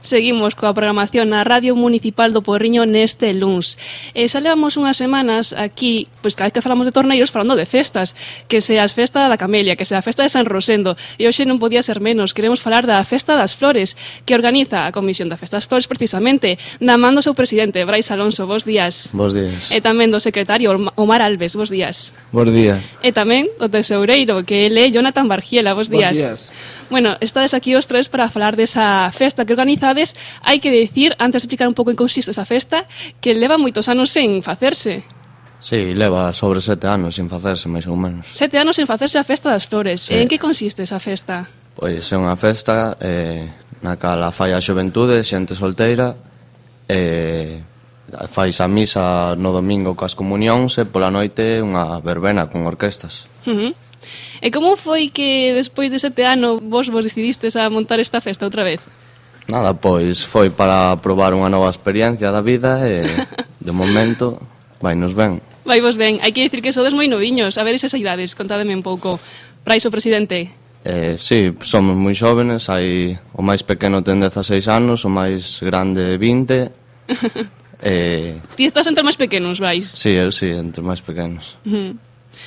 Seguimos coa programación na Radio Municipal do Porriño neste luns. Xa levamos unhas semanas aquí, pois cada vez que falamos de torneiros, falando de festas, que sea a festa da Camelia, que sea a festa de San Rosendo, e hoxe non podía ser menos, queremos falar da Festa das Flores, que organiza a Comisión da Festa das Flores precisamente, na man do seu presidente, Brais Alonso, bos días. Bos días. E tamén do secretario, Omar Alves, bos días. Bos días. E tamén do tesoureiro, que ele é Jonathan Bargiela, bos días. Bos días. Bueno, estades aquí os tres para falar desa festa que organizades. Hai que decir, antes de explicar un pouco en que consiste esa festa, que leva moitos anos sen facerse. Sí, leva sobre 7 anos sin facerse, máis ou menos. 7 anos sen facerse a Festa das Flores. Sí. En que consiste esa festa? Pois é unha festa na cala fai a xuventude, xente solteira, fais a misa no domingo coas comunións e pola noite unha verbena con orquestas. E como foi que despois de 7 anos vos decidistes a montar esta festa outra vez? Nada, pois foi para probar unha nova experiencia da vida e de momento vainos ben. Vai vos ben, hai que dicir que sodes moi noviños. A ver esas idades, contádeme un pouco. Brais, o presidente. Sí, somos moi xóvenes, hai o máis pequeno ten 16 anos, o máis grande 20. Ti estás entre máis pequenos, Brais? Sí, eu sí, entre máis pequenos.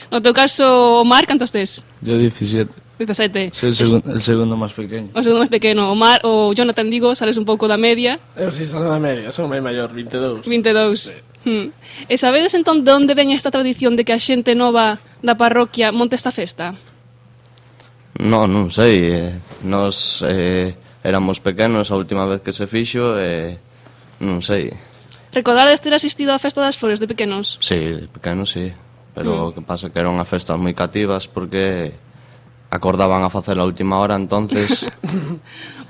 No teu caso, Omar, cantos tes? Yo 17. 17. Soy el segundo más pequeño. O segundo máis pequeno. Omar, o Jonathan, digo, sales un pouco da media. Eu si, salgo da media, son máis maior, 22. 22. Sí. E sabedes entón de onde ven esta tradición de que a xente nova da parroquia monte esta festa? Non sei, nós éramos pequenos a última vez que se fixo e non sei. Recordades ter asistido á Festa das Flores de pequenos? Sí, de pequenos sí, pero o que pasa que eran unhas festas moi cativas porque acordaban a facer a última hora, entonces...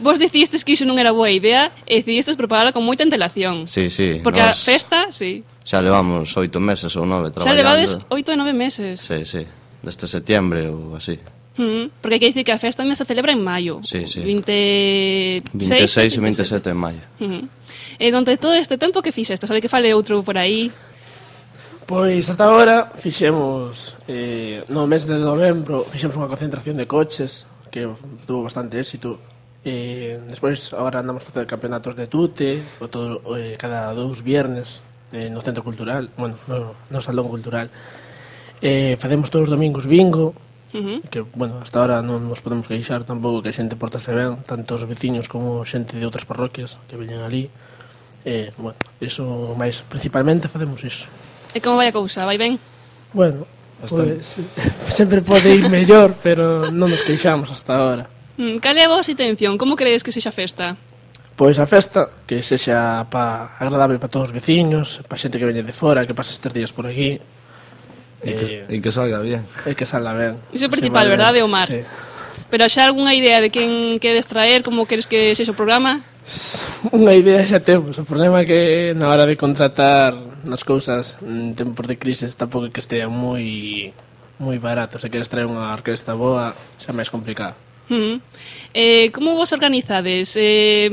Vos decidistes que iso non era boa idea e decidistes prepararla con moita antelación. Sí, Porque a festa, sí. Xa levamos 8 meses ou 9 traballando. Xa levades 8 ou 9 meses. Sí, sí, desde setembro ou así. Porque hai que dicir que a festa tamén se celebra en maio. Sí, sí. 26 e 27 en maio. E donde todo este tempo que fixeste? Sabe que fale outro por aí? Pois hasta agora fixemos no mes de novembro fixemos unha concentración de coches que tuvo bastante éxito. Despois agora andamos a facer campeonatos de tute cada 2 viernes no centro cultural, bueno, no salón cultural. Facemos todos os domingos bingo, que, bueno, hasta ahora non nos podemos queixar tampouco, que a xente portase ben, tanto os veciños como xente de outras parroquias que veñen ali. Bueno, iso máis, principalmente facemos iso. E como vai a cousa? Vai ben? Bueno, pues, sempre pode ir mellor, pero non nos queixamos hasta ahora. Cal é a vosa intención? Como credes que sexa a festa? Pois a festa, que sexa agradable para todos os veciños, para xente que veñe de fora, que pase estes días por aquí. E que salga bien. E que salga ben. Iso é o principal, verdade, Omar? Sí. Pero xa algunha idea de quen queres traer, como queres que sexa o programa? Unha idea xa temos. O problema é que na hora de contratar nas cousas en tempos de crisis tampouco que estea moi barato. Se queres traer unha orquesta boa, xa máis complicado. Como vos organizades?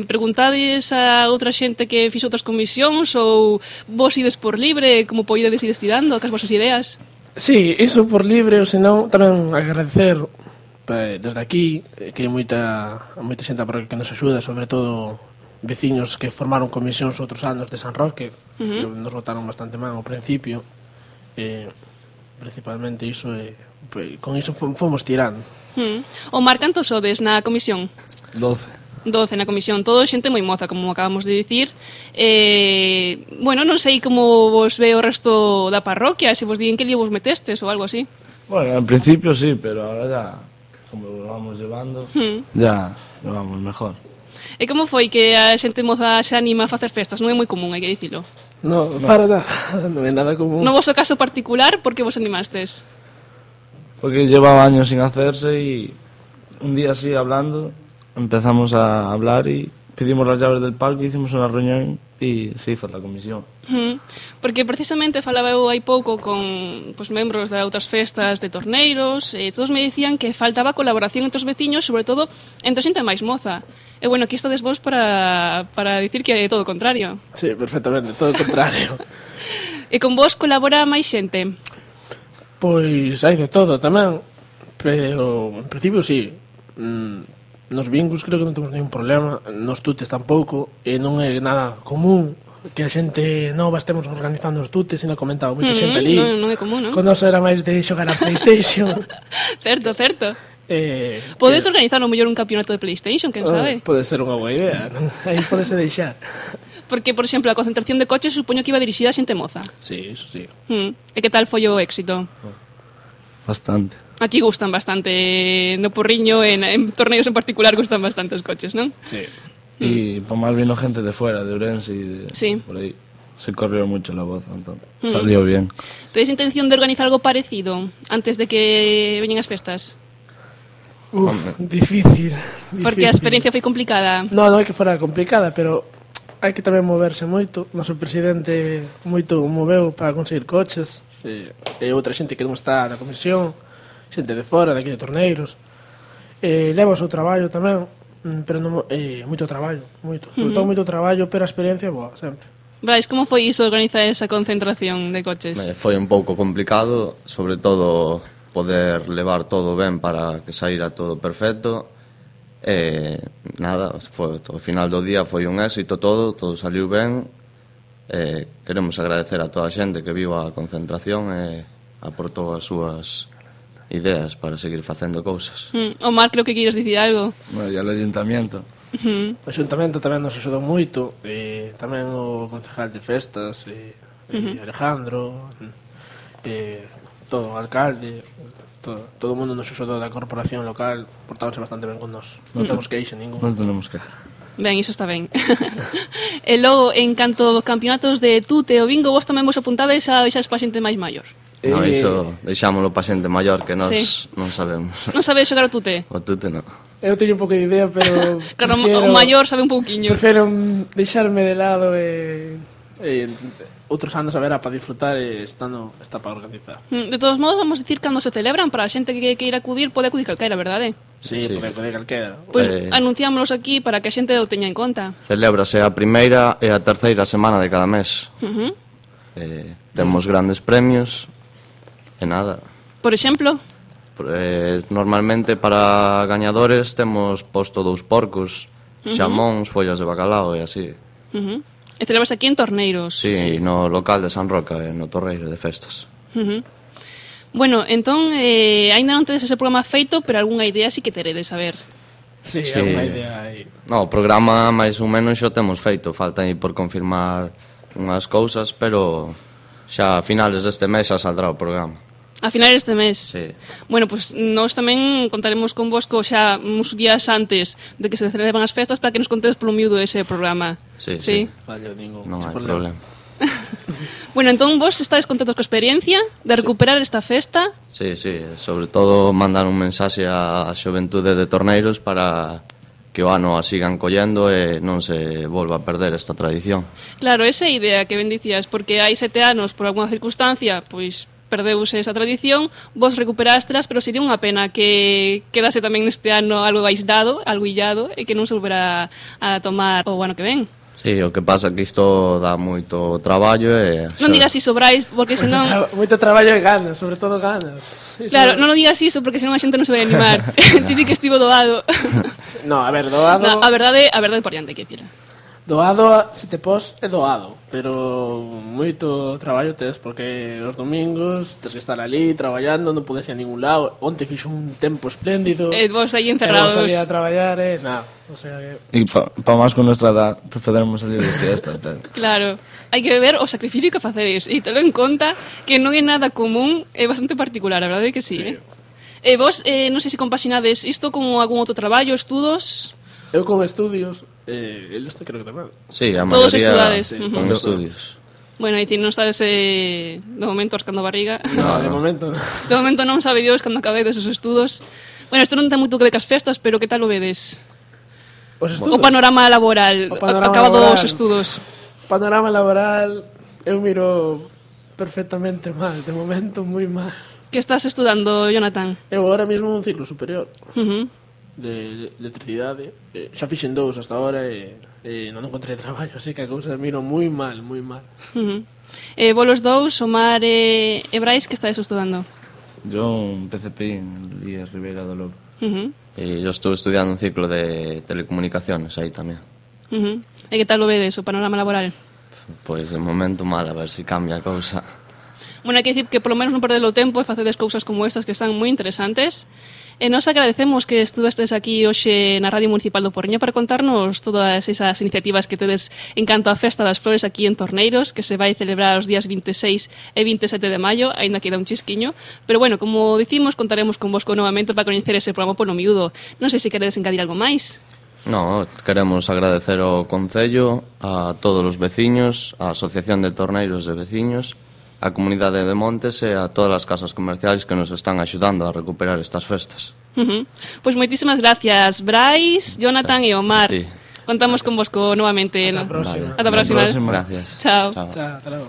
Preguntades a outra xente que fixo outras comisións ou vos ides por libre? Como poidedes ir estirando cas vosas ideas? Sí, iso por libre, ou senón tamén agradecer desde aquí que hai moita xente a parroquia que nos axuda, sobre todo veciños que formaron comisións outros anos de San Roque, que nos votaron bastante mal ao principio, principalmente iso, con iso fomos tirando. Omar, cantos sodes na comisión? 12 na comisión, todo xente moi moza, como acabamos de dicir. Bueno, non sei como vos ve o resto da parroquia, se vos digan que lío vos metestes ou algo así. Bueno, en principio sí, pero ahora ya, como lo vamos llevando, ya lo vamos mejor. E como foi que a xente moza se anima a facer festas? Non é moi común, hai que dicilo. No, para nada, non é nada común. No vosso caso particular, por que vos animastes? Porque llevaba años sin hacerse y un día así hablando empezamos a hablar y pedimos las llaves del palco, hicimos una reunión y se hizo la comisión. Porque precisamente falaba eu hai pouco con membros de outras festas de torneiros e todos me dicían que faltaba colaboración entre os veciños, sobre todo entre xente máis moza. E bueno, aquí estades vos para dicir que é todo o contrario. Sí, perfectamente, todo o contrario. E con vos colabora máis xente? Pois hai de todo tamén, pero en principio sí. nos bingos creo que non temos ningún problema, nos tutes tampouco, e non é nada común que a xente nova estemos organizando os tutes, e non comentaba moita xente ali. Non é común, non? Con nos era máis de xogar a PlayStation. Certo, certo. Podes organizar o mellor un campeonato de PlayStation, quen sabe? Pode ser unha boa idea, non? Aí podese deixar. Porque, por exemplo, a concentración de coches supoño que iba dirixida a xente moza. Sí, eso sí. E que tal foi o éxito? Bastante. Aquí gustan bastante, no Porriño, en torneos en particular gustan bastante os coches, non? Sí. Y por más vino gente de fuera, de Ourense y de Sí. por ahí. Se corrió mucho la voz, entonces salió bien. Tedes intención de organizar algo parecido antes de que veñen as festas? Difícil. Porque a experiencia foi complicada. Non é que fora complicada, pero hai que tamén moverse moito. O noso presidente moito moveu para conseguir coches, e outra xente que non está na comisión, xente de fora, de aquí de Torneiros. Leva o seu traballo tamén, pero non, moito traballo, moito. Sobre todo moito traballo, pero a experiencia é boa, sempre. Brais, como foi iso organizar esa concentración de coches? Foi un pouco complicado, sobre todo poder levar todo ben para que saíra todo perfecto. Nada, ao final do día foi un éxito todo saliu ben. Queremos agradecer a toda a xente que viu a concentración e aportou as súas ideas para seguir facendo cousas. Omar, creo que queres dicir algo. Bueno, ya el ayuntamiento. O Xuntamento tamén nos axudou moito, tamén o concejal de festas, Alejandro, todo o alcalde, todo o mundo nos axudou da corporación local, portáronse bastante ben con nós. Non temos queixa ningún. No tenemos que... Ben, iso está ben. E logo, en canto aos campeonatos de tute o bingo, vos tamén vos apuntades a deixar pa xente máis maior. No, iso deixámoslo pa xente maior que nós Sí. non sabemos. Non sabes xogar o tute? O tute non. Eu teño un pouco de idea, pero Claro, o maior sabe un pouquiño. prefiro deixarme de lado e outros anos a ver para disfrutar e estando está para organizar. De todos modos, vamos dicir cando se celebran para a xente que queira acudir, pode acudir calquera, verdade? Sí, Sí. porque poder calquera. Pois anunciámonos aquí para que a xente o teña en conta. Celébrase a primeira e a terceira semana de cada mes. Temos grandes premios e nada. Por exemplo, Normalmente para gañadores temos posto 2 porcos, xamóns, follas de bacalao e así. e celebras aquí en Torneiros. Sí, no local de San Roca, no Torreiro de Festas. Bueno, entón, ainda non tedes ese programa feito, pero algunha idea sí que teredes saber. Sí, Sí. é unha idea aí. No, o programa máis ou menos xa temos feito, falta aí por confirmar unhas cousas, pero xa a finales deste mes xa saldrá o programa. A finales deste mes. Sí. Bueno, pues nós tamén contaremos con vosco xa uns días antes de que se celebran as festas para que nos contedes polo miúdo ese programa. Sí, sí. Fallo ningún. Non sin hai problema. Bueno, entón vos estáis contentos coa experiencia de recuperar esta festa? Sí, sí, sobre todo mandar un mensaxe á xoventude de Torneiros para que o ano a sigan collendo e non se volva a perder esta tradición. Claro, esa é a idea que ben dicías, porque hai 7 anos, por alguna circunstancia, pois perdeuse esa tradición, vos recuperástelas, pero sería unha pena que quedase tamén neste ano algo aislado, algo illado, e que non se volverá a tomar o ano que ven. Sí, o que pasa é que isto dá moito traballo e... Non digas iso, Brais, porque senón... Moito traballo e ganas, sobre todo ganas. Iso- Claro, non o digas iso, porque senón a xente non se vai animar. Ti di que estivo doado. No, a ver, doado... No, a verdade por diante, que dicir. Doado, se te pos, é doado, pero moito traballo tes, porque os domingos tes que estar ali traballando, non podes ir a ningún lado. Onte fixo un tempo espléndido. Vos aí E encerrados. vos salía a traballar, nada. O sea que... Y para más con nuestra edad, preferimos salir de fiesta. Pero... Claro, hai que ver o sacrificio que facedes e telo en conta que non é nada común, é bastante particular, a verdade é que sí, Sí. E vos, non sei se compaxinades isto con algún outro traballo, estudos. Eu con estudios, el este creo que tamén. Sí, a Todos maioría estudades. con estudios. Bueno, é dicir, non sabes de momento rascando a barriga. No, de momento. De momento non sabe Dios cando acabedes os estudos. Bueno, isto non ten moito que ver cas festas, pero que tal o vedes? Os estudos. O panorama laboral, O panorama acabado laboral. os estudos. Panorama laboral, eu miro perfectamente mal, de momento moi mal. Que estás estudando, Jonathan? Eu agora mesmo un ciclo superior Uh-huh. de electricidade. Xa fixen 2 hasta ahora e non encontrei traballo, así que a cousa miro moi mal, moi mal. Uh-huh. Vos los dous, Omar e Brais, que estáis estudando? Yo un PCP en Lías Rivera do Lobo. E yo estuve estudiando un ciclo de telecomunicaciones aí tamén. E que tal o vedes o panorama laboral? Pois de momento mal, a ver se cambia a cousa. Bueno, hai que dicir que polo menos non perder o tempo e facedes cousas como estas que están moi interesantes. E nos agradecemos que estuvestes aquí hoxe na Radio Municipal do Porriño para contarnos todas esas iniciativas que tedes en canto á Festa das Flores aquí en Torneiros, que se vai celebrar os días 26 e 27 de maio, aínda queda un chisquiño. Pero bueno, como dicimos, contaremos con vosco novamente para coñecer ese programa polo miúdo. Non sei se queredes engadir algo máis. No, queremos agradecer ao Concello, a todos os veciños, a Asociación de Torneiros de Veciños, a Comunidade de Montes e a todas as casas comerciais que nos están axudando a recuperar estas festas. Pois moitísimas gracias, Brais, Jonathan e Omar. Sí. Contamos con vosco novamente. Ata a próxima. Ata a próxima. Gracias. Chao. Chao, hasta logo.